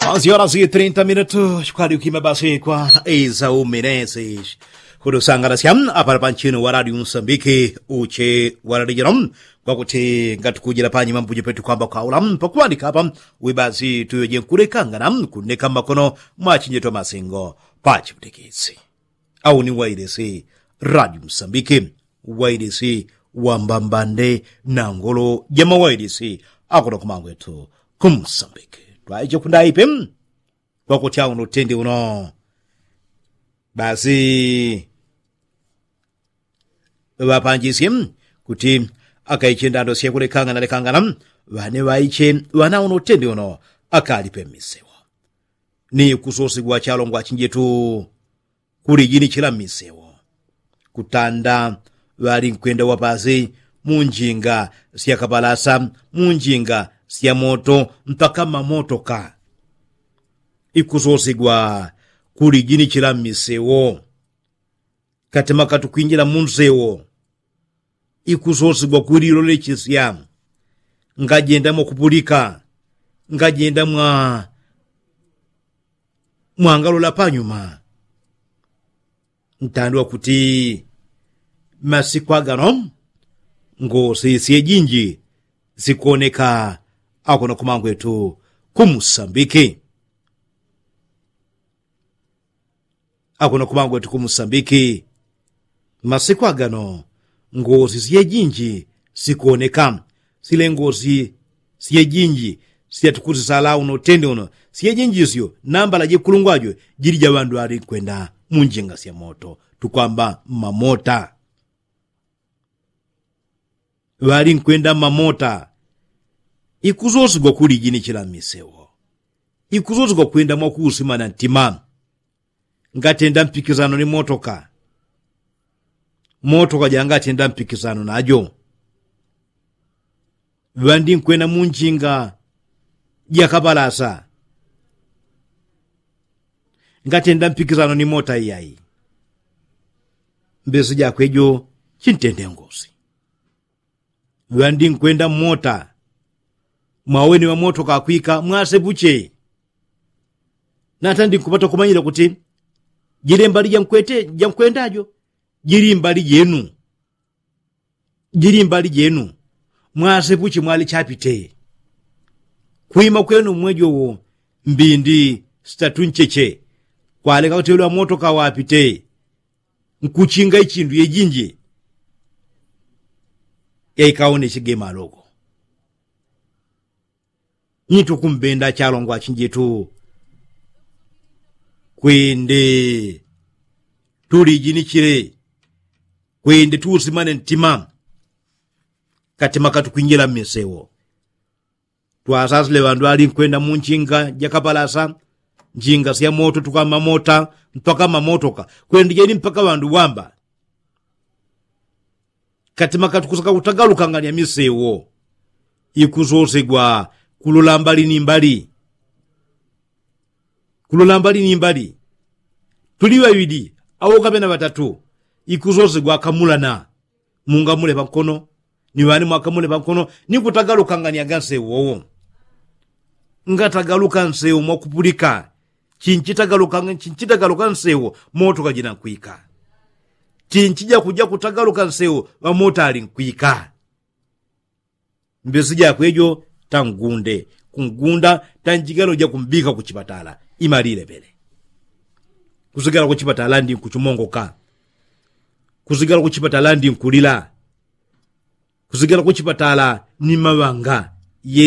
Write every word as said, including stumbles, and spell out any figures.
Ansi ora si trinta minutu kwadi ukima basi kwa iza uminesi. Kudusangalasya apala panchinu waradi unsambiki uche waradi jino kwakuti ngatukujila panyima mbuji petu kwamba kwaula pakuwandika apa wibasi tuyoje nkulekangana kuneka makono mwachinjeto masingo pachiputikisi. Au ni wailisi radi msambiki wailisi wambambande na ngolo jama wailisi akuna kumangwetu kumsambiki twaiche kundaipe. Kwakutya uno tende uno basi ŵapanjisye kuti akaiche ndando syekulekangana lekangana ŵane ŵaiche ŵana uno tende uno akalipe mmisewo. Ni kusosigwa chalongwa chinjetu kuli jini chila mmisewo kutanda ŵali nkwenda wapasi mu njinga sya kapalasa mu njinga sya moto mpaka mamotoka. Ikusosigwa kuli jini chila mmisewo katema katukwinjila mu nsewo. Ikusosigwa kuli lolechesya ngajenda mwakupulika ngajenda mwa mwangalola panyuma. Ntandwa kuti masiku agano ngosi syejinji sikoneka akuno kumangwetu kumusambiki. Akuno kumangwetu kumusambiki masiku agano ngosi syejinji sikoneka. Sile ngosi syejinji syatukusisala uno tende uno syejinji syo nambala jekulungwajo jili ja ŵandu ŵali nkwenda mu njinga sya moto tukwamba mmamota. Ŵali nkwenda mmamota. Ikusosigwa kuli jini chila mmisewo ikusosigwa kwenda mwakuusimana ntima. Ngatenda mpikisano ni motoka motoka jangatenda mpikisano najo. Ŵandi nkwenda mu njinga jakapalasa ngatenda mpikisano ni mota iyai. Mbesi jakwe jo chintende ngosi. Ŵandi nkwenda mmota mwaweni ŵamotoka akwika mwasepuche. Nata ndinkupata kumanyila kuti jili mbali jankwete jankwendajo jili mbali jenu. Jili mbali jenu mwasepuche mwali chapite. Kwima kwenu mmwejowo mbindi sitatu ncheche kwaleka kuti ŵali ŵamotoka wapite nkuchinga ichindu yejinji. Yaikaone chigema aloko nyi tukumbenda chalongwa chinjetu. Kwende tulijinichile kwende tuusimane ntima. Katima katukwinjila mmisewo twasasile ŵandu ŵali nkwenda mu njinga jakapalasa njinga sya moto tukamamota mpaka mamotoka kwende jeni mpaka ŵandu wamba. Katima katukusaka kutagalukangania misewo ikusosegwa kulola mbali ni mbali. Kulola mbali ni mbali tuli ŵaŵili au kapena ŵatatu ikusosegwa akamulana. Mungamule pankono ni ŵani mwakamule pankono ni kutagalukangania ga nsewo wowo. Ngatagaluka nsewo mwakupulika chinchitagaluka nsewo moto kajina nkwika. Chinchija kuja kutagaluka nsewo ŵamota ali nkwika. Mbesi jakwe jo tangunde kungunda tanjigalo jakumbika kuchipatala. Imalilepele kusigala kuchipatala ndi nkuchumongoka. Kusigala kuchipatala ndi nkulila. Kusigala kuchipatala ni maŵanga yele.